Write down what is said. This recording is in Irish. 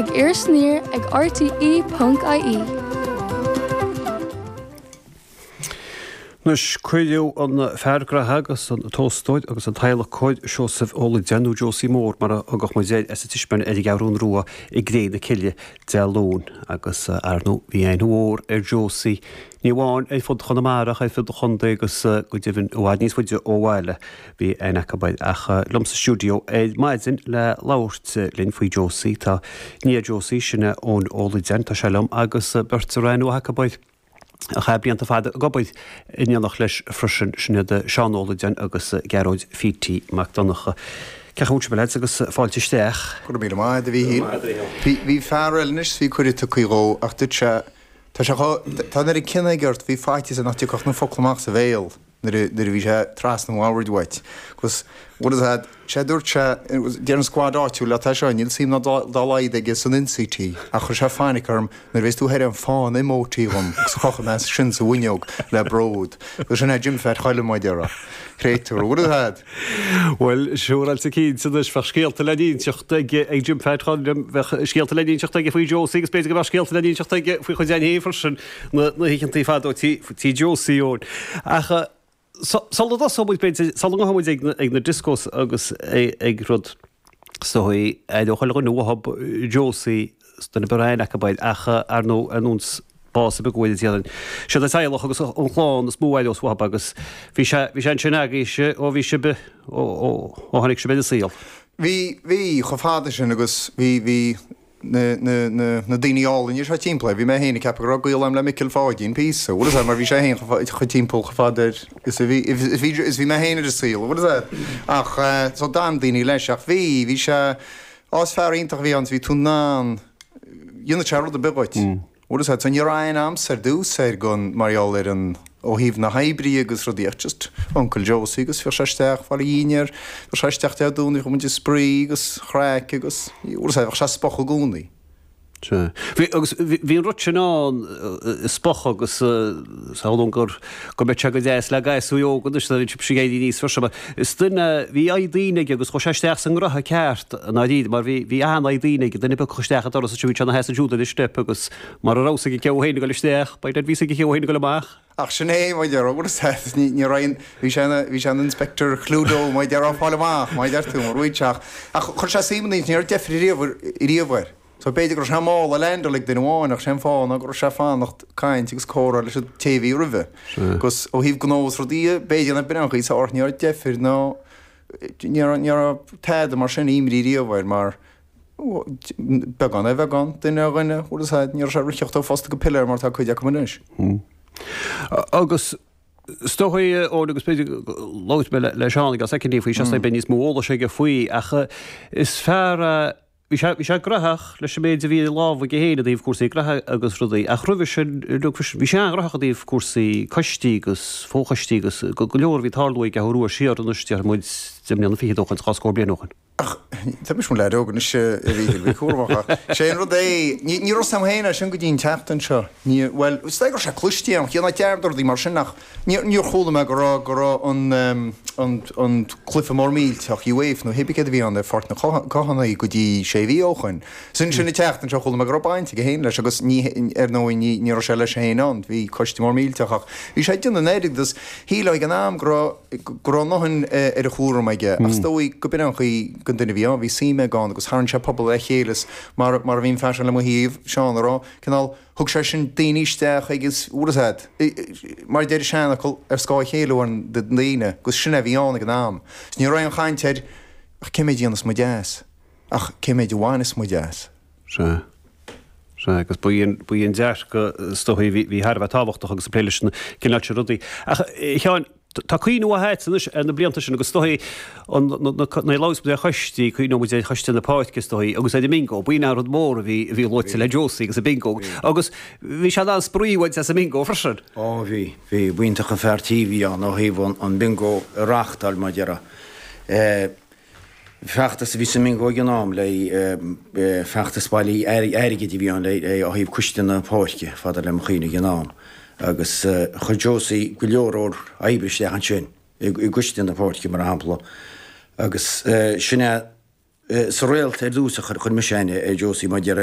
ag Iris Aniar ag rte ponc ie. Anois, cuireadh an fear graithe agus an t-óstóir agus an t-adhlacóir Seosamh Ó Loideáin, nó Josie Mór mar a thugadh muid air, as an Tismeáin ar an gCeathrún Rua i gCré na Cille Dé Luain agus, ar ndóigh, bhí aithne mhór ar Josie, ní amháin ar fud Chonamara ach ar fud an chontae agus go deimhin i bhfad níos faide ó bhaile. Bhí aithne acu air. Ach liom sa stiúideo ar maidin le labhairt linn faoi Josie tá nia Josie, sin é Eoin Ó Loideáin, tá sé liom agus beirt a raibh aithne mhaith acu air a chaith blianta fada ag obair in éineacht leis freisin, sin iad Seán Ó Loideáin agus Gearóid Phítí Mac Donncha. Cén chaoi a bhfuil sibh, a leaids, agus fáilte isteach. Go raibh míle maith agat, a Mhíchíl. Bhí, bhí fear eile anois is bhí cuireadh tugtha dhó ach dúirt sé, tá sé chomh, tá an oiread cion aige ort, bhí faitíos air nach dtiocfadh na focla amach as a bhéal. nuair a nuair a bhí sé trasna an bhoird uait. Agus what is that? Sé dúirt sé, deir an squad áitiúil leat é seo, níl suim ná dá laghad aige san ionsaí ach chuir sé fainic orm nuair a bheas tú thoir an fána imeoidh dhom agus chrochfaidh mé sin sa bhfuinneog le bród. Agus sin é Jim Pheait Choilm, mar a déarfá. Créatúr, what is that? Bhuel, siúráilte cinnte anois, bheadh scéalta le n-inseacht ag Jim Pheait Choilm, bheadh scéalta le n-inseacht aige faoi Josie agus b'fhéidir go mbeadh scéalta le n-inseacht aige faoi chuid againn féin freisin. na hoícheantaí fadó tí Josie Eoin. Ach sula dtosóidh muid, b'fhéidir, sula ngabhfaidh muid ag na discos agus ag rud, is dóigh, aireoidh chuile dhuine uathub Josie, is duine a raibh aithne acu air, ach ar ndóigh, ar nós bás ar bith go bhfuil déarfainn. Siad an teaghlach agus an chlann is mó a aireos uathub agus bhí sé, bhí sé ansin agaibhse ó bhí sibh, ó, ó, ó tháinig sibh ar an saol. Bhí, bhí, chomh fada sin agus bhí, bhí na, na, na, na daoine álainne seo timpeall air. Bhí mé féin ag ceapadh go raibh gaol agam le Micil Pháidín píosa, bhfuil fhios agat, mar bhí sé féin chomh timpeall chomh fada air is a bhí, is bhí, is bhí mé féin ar an saol, bhfuil fhios agat. Ach, eh, so d'fhan daoine leis ach bhí, bhí sé, á is fear iontach a bhí ann is bhí tú in ann, dhéanfadh sé rud ar bith dhuit. Bhfuil fhios agat, so ní raibh aon aimsir ar dtús air gan, mar gheall ar an, ó thaobh na hoibre agus rudaí ach just Uncle Josie agus bheadh sé isteach fáil a dhinnéar, bheadh sé isteach Dé Domhnaigh bheadh muid ag spraoi agus chraic agus, bhfuil fhios agat, bheadh sé spoch i gcónaí. Sea. Bhí, agus bhí an rud sin ann, spoch agus samhlaím gur, go mbeadh sé go deas le gasúir óga anois nuair a bhíonn sibhse ag éirí aníos freisin mar is duine, bhí aghaidh daoine aige agus chuaigh sé isteach sa ngraithe ceart i ndáiríre mar bhí, bhí an-aghaidh daoine aige, duine ar bith a thiocfadh isteach an doras ansin bhí sé ina sheasamh ansiúd ar an step agus mara raibh fhios aige cé féin ag dul isteach, by dad bhí fhios aige cé féin ag dul amach. Ach sin é, mar a déarfá, bhfuil fhios agat, ní, ní raibh aon, bhí sé ina, bhí sé ina Inspector Cluedo, mar a déarfá, fáil amach, mar a deir tú, mar bhí sé ach, ach chuir sé suim i ndaoine, ní raibh deifir riamh, riamh air. So b'fhéidir go raibh sé ina mhála le handle ag duine amháin ach sé an fáth ná go raibh sé ag fanacht caint agus comhrá leis an té a bhí roimhe. Agus ó thaobh gnó is rudaí b'fhéidir nach b'in an chaoi is ach ní raibh deifir ná ní raibh ní raibh tada mar sin imní riamh air mar beagán ar bheagán, duine ar dhuine, bhfuil fhios agat, ní raibh sé ag ritheacht ó phosta go piléar mar atá cuid acu anois. Agus is dóigh, Eoin, agus b'fhéidir labhróidh mé le Seán i gceann soicindí faoi seo, beidh níos mó eolais aige faoi, ach is fear é, Bhí sé, bhí sé graitheach leis an méid a bhí ar lámh aige féin i dtaobh cúrsaí graithe agus rudaí, ach roimhe sin, bhí sé an-ghraitheach i dtaobh cúrsaí coistí agus fochoistí agus go leor a bhí ag tarlú ag an gCeathrú Rua siar anois, déarfaidh muid, deich mbliana fichead ó shoin, 20 scór bliain ó shoin. Ach tá mise mo leaid óg anois, a Mhíchíl, bí cúramach ach sé an rud é, ní, ní raibh 'fhios a'm féin é sin go dtí an tseachtain seo. Ní, bhuel, is dóigh go raibh sé cloiste a'm, cé ná dearmad rudaí mar sin ach, Níor chuala mé go raibh go raibh an an an cluiche mór millteach UEFA nó hébí céard a bhí ann ar Pháirc na Cothánaí go dtí sé mhí ó shoin. Is ansin an tseachtain seo chuala mé go raibh baint aige féin leis agus ní ar ndóigh ní ní raibh sé leis féin ann, bhí coiste mór millteach ach bhí sé ag déanamh an oiread agus shílfeá ag an am go raibh go raibh a ndóthain ar a chúram aige ach is dóigh go b'in an chaoi don duine a bhí ann, bhí suim aige ann agus tharraing sé pobal le chéile is mar mar a bhí an fear sin le mo thaobh, Seán, a rá, cineál Thug sé sin daoine isteach agus, bhfuil fhios a'd, mar a deir an seanfhocal, ar scáth a chéile a oireann do dhaoine, agus sin é a bhí ann ag an am. Is ní raibh aon chaint ar ach cé méid a dhéanas muid as, ach cé méid a bhaineas muid as. Sea. Sea, agus ba í an, ba í an dearcadh is dóichí a bhí, bhí thar a bheith tábhachtach agus ag plé leis an gcineál sin rudaí. Ach, a Sheáin, Tá cuimhne mhaith a'dsa anois ar na blianta sin agus is dóigh nuair a labhras muid ar choistí, cuimhneoidh muid ar choiste na páirce is dóigh agus ar an mbingo, b'in an rud mór a bhí a bhí luaite le Josie agus an bingo agus bhí sé in ann spraoi a bhaint as an mbingo freisin. Ó bhí, bhí, b'iontach an fear tí a bhí ann ó thaobh an bingo a reáchtáil mar a déarfá. Feachtas a bhí sa mbingo ag an am le feachtas bailí airgid a bhí ann le ó thaobh coiste na páirce, fada le mo chuimhne ag an am, agus chuir Josie go leor leor oibre isteach ansin i gcoiste na páirce mar shampla agus sin é sa Réalt ar dtús a chuir mise aithne ar Josie mar a déarfá.